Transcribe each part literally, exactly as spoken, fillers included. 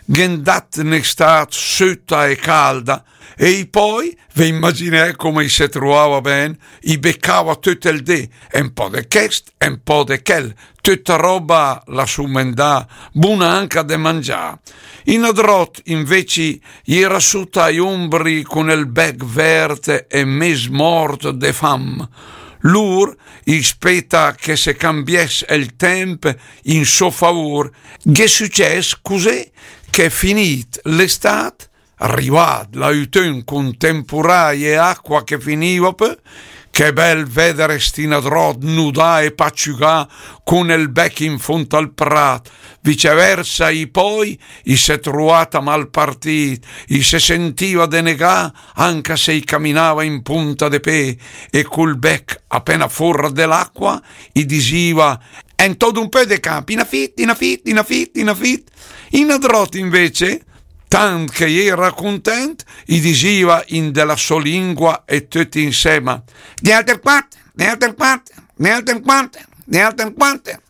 gh'è 'ndàt 'n'estàt söta e calda, e i pòi, ve imaginee come i se truàa ben, i becàa töt el dé, e 'n pò de chèst, e 'n pò de chèl, töta ròba la sumendàa, buna anca de mangià. In adròt, invece, i era söta i ombri cun el bèch vèrt e méz mòrt de fam. Lur, i speta che se cambiès el tèmp in sò favur, gh'è sücès cusé che finìt l'estàt, rivàt l'autön cun tempurai e aqua che finiva pö, che bèl vèder sti nadròt nudà e paciugà cun el bèch in fónd al pràt. Viceversa, i pòi, i se truàt a mal partìt, i se sentiva denegà, anca se i caminava in punta de pé, e cul bèch apena fóra de l'aqua, i disiva: «En tö d'un pö de camp, inafit, inafit, inafit, inafit.» I nadròt invece, tant che i era cuntènt, i disiva in de la sò lingua e töt insèma: «Dealter quat, dealter quat, dealter quat, dealter quat.»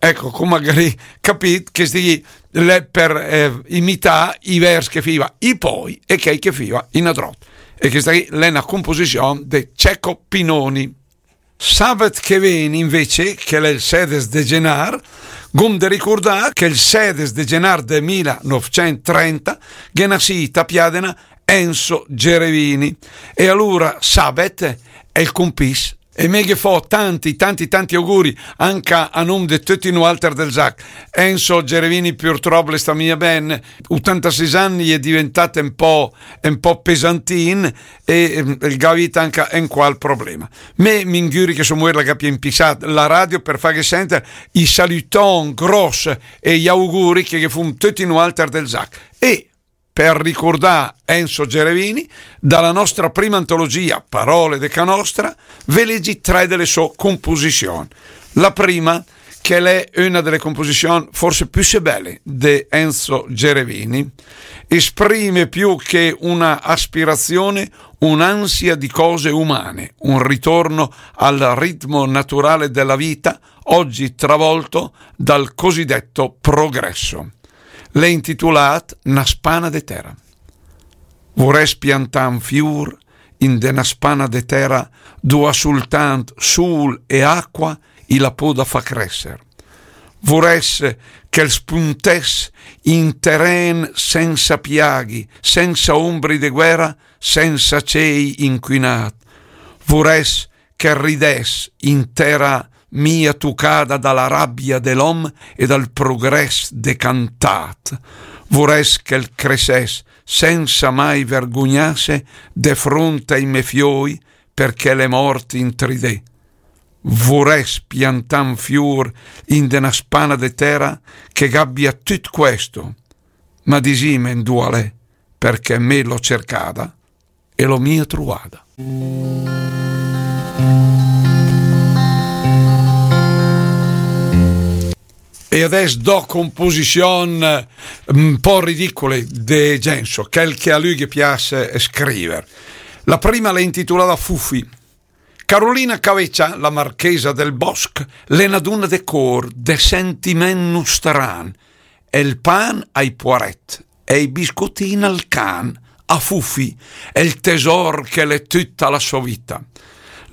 Ecco, come gh'arì capìt, chèsti ghì l'è per, eh, imità i vèrs che fiva i pòi e chèi che fiva i nadròt. E chèsta ghì l'è öna composizion de Cecco Pinoni. Sabet che vèni, invece, che l'è el sèdes de genar, gh'óm de ricurdà che el sèdes de genar de mila nòvcènt trenta gh'è nasìt a Piadena Enzo Gerevini. E alura Sabet è el cumpis. E mé ghe fó tanti, tanti, tanti auguri, anca a nòm de töti nualter del Zac. Enzo Gerevini purtròp l'è stà mia ben, otantasis ann i è diventàt un pò, un pò pesantin, e, ehm, el gh'à avìt anca un qual problema. Mé m'ingüri che sò muér la gh'abia impisàt la radio per fàghe sènter i salüton gròs e i auguri che ghe fóm töti nualter del Zac. E per ricurdà Enzo Gerevini, da la nostra prima antologia, Parole de ca nostra, ve legi tre de le sò composizion. La prima, che l'è öna de le composizion forse püsé bèle de Enzo Gerevini, esprime più che una aspirazione un'ansia di cose umane, un ritorno al ritmo naturale della vita, oggi travolto dal cosiddetto progresso. L'è intitulàt Na spana de tèra. Vurès piantà un fiur in de na spana de tèra, dua sultant sul e aqua i la pöda fà crèsser. Vurès che el spuntés in terèn sensa piaghi, sensa ombri de guèra, sensa cei incuinàt. Vurès che ridès in tèra mia tucada da la rabia de l'òm e dal progrès decantàt. Vurès che el cresès sensa mai vergugnasse de front ai me fioi, perché l'è mòrt in tri dé. Vurès piantà un fiur in de na spana de tèra che gh'abia tüt questo, ma disìme 'ndua l'è, perché mé l'ó cercada e l'ó mia truada. E adès dò composizion, eh, un pò ridicule de Genso, chèl che a lü ghe pias scriver. La prima l'è intitulada Fufi. Carolina Caveccia, la marchesa del Bosc, l'è na duna de cór, de sentiment nustran. El pan ai puarèt, e i biscotin al can, a Fufi, el tesor che l'è tüta la sò vita.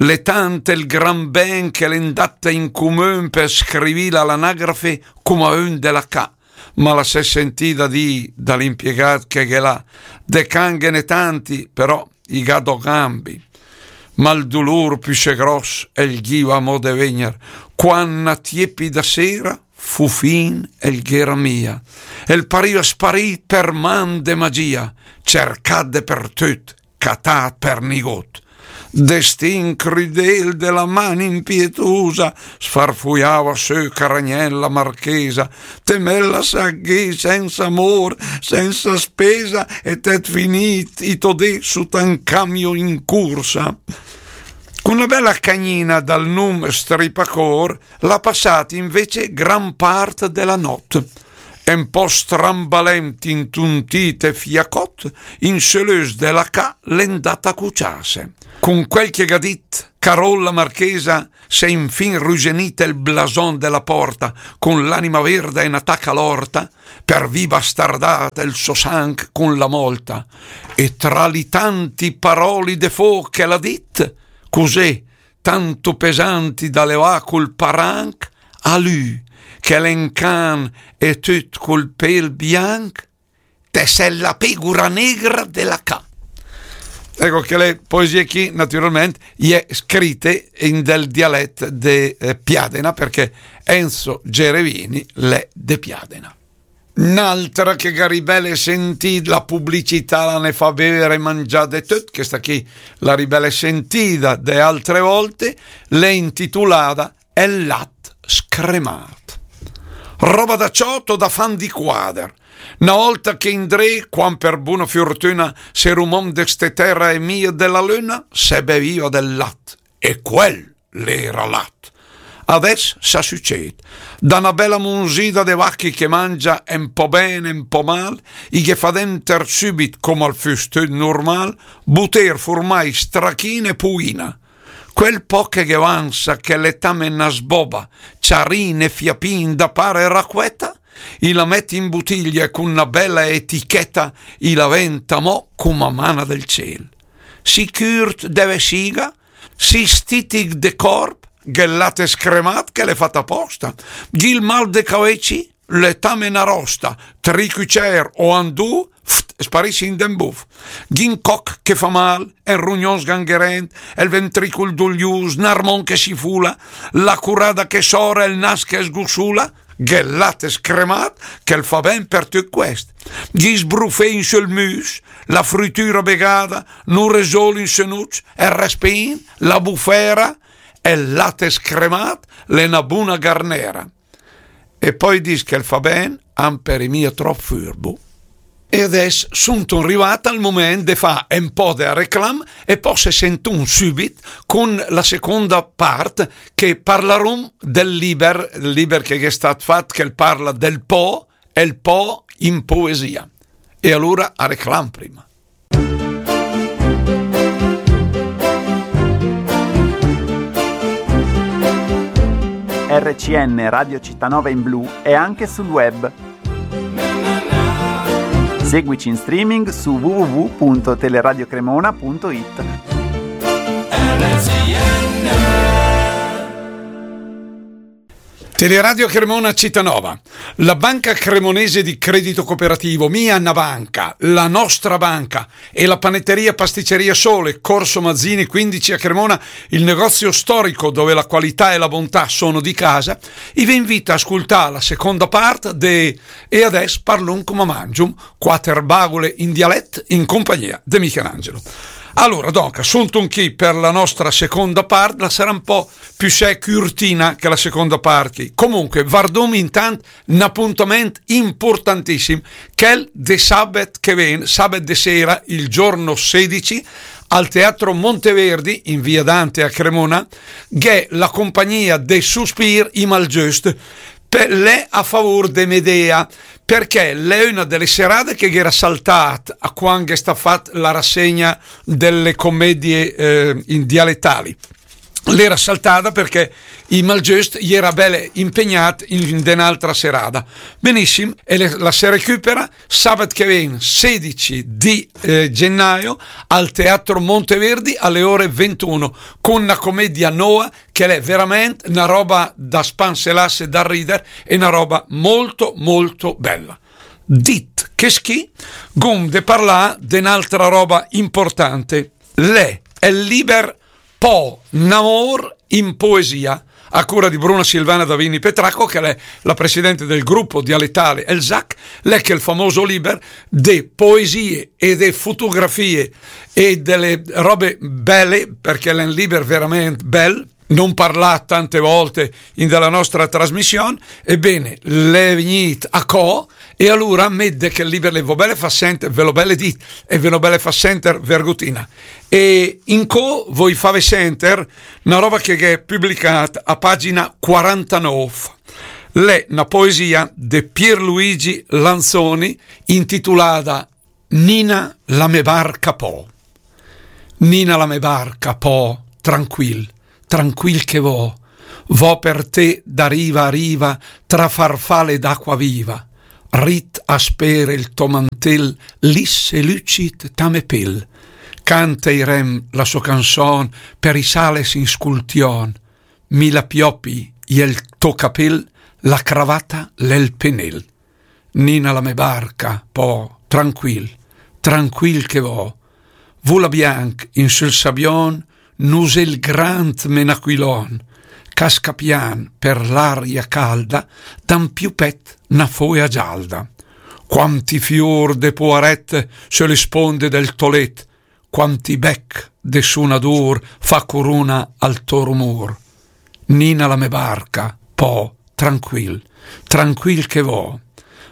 L'è tant el gran ben che l'è 'ndata in cumün per scrivìla a l'anagrafe coma ün de la ca, ma la s'è sentida dì da l'impiegat che gh'è là: de can ghe n'è tanti, però i gh'à dò gambi. Ma 'l dulur püsé gròs el ghiva amò de vegner, quan na tiepida sera Fufin el gh'era mia, el pariva sparìt per man de magia, cercàt depertüt, catàt per nigot. Destin crüdel de la man impietusa, sfarfuiava sö caragnèl la marchesa, te me l'has dà sensa amor, sensa spesa, e t'hèt finìt i tò dé sota un camion in cursa. Cun la bèla cagnina dal num Stripacor l'ha passàt invece gran part de la nòt. Un pò strambalent, intuntìt e fiacòt, in sö l'ös de la ca l'è 'ndàt a cuciàse. Cun quel che gh'à dit, Carol la marchesa, s'è infin rugenit el blason de la porta, cun l'anima verda e na taca lorta, per vì bastardàt el so sanc cun la molta. E tra li tanti paroli de fò che l'à dit, cusè, tantu pesanti da levà cul paranc, a lü, che l'è 'n can e tüt cul pel bianc, te sè la pegura negra de la ca. Ecco che le poesie chi, naturalment, i è scrite in del dialet de, eh, Piadena, perché Enzo Gerevini l'è de Piadena. N'altra che gh'à ribele sentì, la publicità la ne fa bevere e mangià de tüt, questa chi la ribele sentida de altre volte, l'è intitulada El lat scremàt. Roba da ciot o da fan di quader. Na olta che indré, quan per buna furtüna s'era un om de ste tera e mia de la lüna, se beviva del lat. E quel l'era lat. Adès sa süced. Da na bela munzida de vachi che mangia un po' ben, un po' mal, i ghe fa denter sübit, come al füs tüt nurmal, buter, furmai, strachin e puina. Quel po' che ghe vansa, che l'è tame na sboba, ciarin e fiapin da pare raqueta, i la met in butiglia e cun na bela eticheta i la venta mo cuma mana del ciel. Sicürt de vesiga, si stitic de corp, gh'è 'l lat scremàt che l'è fat aposta, gh'ì 'l mal de caveci, l'è tame na rosta, tri cucer o an du, ft, sparis in d'en buf. Gh'ì 'n coc che fa mal, e 'n rugnon sgangherent, e 'l ventricul dulius, 'n armon che si fula, la curada che sora e 'l nas che sgusula, gh'è 'l lat scremàt che 'l fa ben per tüt quest. Gh'ì sbrufé in sül müs, la frütüra begada, nu resol in sö nuc, e 'l respin, la bufera, e 'l lat scremàt l'è na buna garnera. E poi dis che 'l fa ben, amper i mia trop furbu. E adès suntum rivàt al moment de fà un po' de reclam e po se sentum sübit cun la seconda part che parlarum del liber, il liber che è stat fat, che parla del po, e 'l po in poesia. E alura a reclam prima. R C N Radio Città Nova in blu è anche sul web. Seguici in streaming su w w w punto teleradio cremona punto i t. Teleradio Cremona Città Nova, la Banca Cremonese di Credito Cooperativo, mia na banca, la nostra banca, e la panetteria pasticceria Sole, Corso Mazzini quindici a Cremona, il negozio storico dove la qualità e la bontà sono di casa, i ve invita a ascoltare la seconda parte de E adès parlum coma mangium, quater bagule in dialet in compagnia de Michelangelo. Alura, donca, suntum chi per la nostra seconda part, la sarà un po' più se curtina che la seconda part chi. Comunque, vardum intant un appuntament importantissim, chel de sabet che ven, sabet de sera, il giorno sedici, al Teatro Monteverdi, in via Dante a Cremona, gh'è la compagnia de Suspir i Malgiöst, per, l'è a favur de Medea, perché l'è una delle serate che era saltata a quando è stata fatta la rassegna delle commedie eh, in dialettali. L'era saltada perché i Malgiöst i era belle impegnat in, in un'altra serata. Benissimo, e le, la se recupera sabato che viene, sedici di eh, gennaio, al Teatro Monteverdi alle ore ventuno, con una commedia nuova che è veramente una roba da spanselasse, da ridere, e una roba molto molto bella. Dit che schì, gum de parlà de un'altra roba importante. L'è el liber Po, n'amor in poesia, a cura di Bruna Silvana Davini Petracco, che l'è la presidente del gruppo dialettale El Zac, l'è che il famoso liber de poesie e de fotografie e delle robe belle, perché l'è un liber veramente bel, non parlat tante volte in della nostra trasmission, ebbene, l'è vignit a co, e alura mette che il liber le vo belle fa senter, ve lo belle dit, e ve lo belle fa senter vergotina. E incò voi fave senter una roba che è pubblicata a pagina quarantanove. L'è una poesia di Pierluigi Lanzoni intitolata Nina la me barca po. Nina la me barca, po, tranquil, tranquil che vo, vo per te da riva a riva, tra farfale d'acqua viva, rit a spere il to mantel, lis e lucit ta me pel. Canta i rem la so canson, per i sales in scultion, mi la piopi i el to capel, la cravata l'el penel. Nina la me barca, po, tranquil, tranquil che vo. Vula bianc in sul sabion, nusel grand menaquilon, casca pian per l'aria calda, dan più pet na foia gialda. Quanti fior de poaret su le sponde del tolet, quanti bec de sunadur fa curuna al to rumur. Nina la me barca, po, tranquil, tranquil che vo.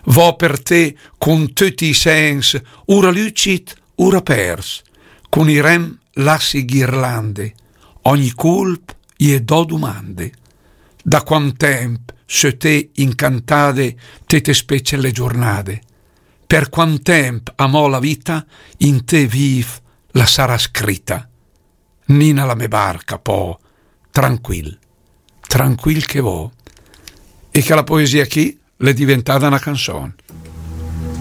Vo per te cun tutti i sens, ura lucit, ura pers, cun i rem lassi ghirlande, ogni culp i e do dumande. Da quant temp sö te incantade, te te spece le giornade? Per quant temp amò la vita in te viv la sarà scrita? Nina la me barca, po, tranquil, tranquil che vo. E che la poesia chi l'è diventada na canson.